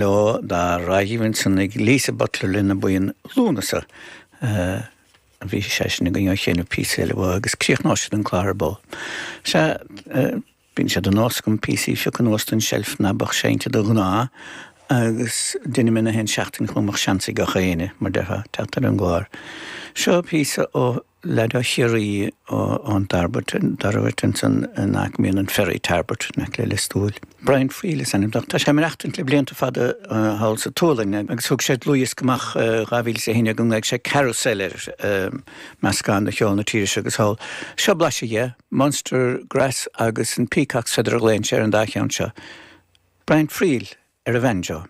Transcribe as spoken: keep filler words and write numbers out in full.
Leo dá raghaibh ansan ag Lisa Butler lena buíon Lúnasa. A bhí seisean againn á sheinm píosa eile uaidh agus críochnóidh siad an clár ar ball. Sea, bíonn sé de nós agam píosaí a phiocadh anuas den tseilf ná beadh seinnte de ghnáth agus deinim é na haon seachtain chun go mbeadh seans ag gach éinne, mar déarfá, teacht ar an gclár. Seo píosa ó leaid ó Chiarraí ón Tarbert, Tarbert ansan in aice mbíonn an ferry Tarbert in aice le Lios Tuathail. Brian Friel is ainm dó. Tá sé ag maireachtaint le blianta fada thall sa tSualainn agus thug sé dlúthdhiosca amach dhá mhíle is a haon déag go nglaoigh sé Carousel air, meascán de cheol na tíre seo agus thall. Seo blaiseadh dhe, Munster Grass agus an Peacock's Feather a ghlaonn sé ar an dá cheann seo. Brian Friel ar an bhanjo.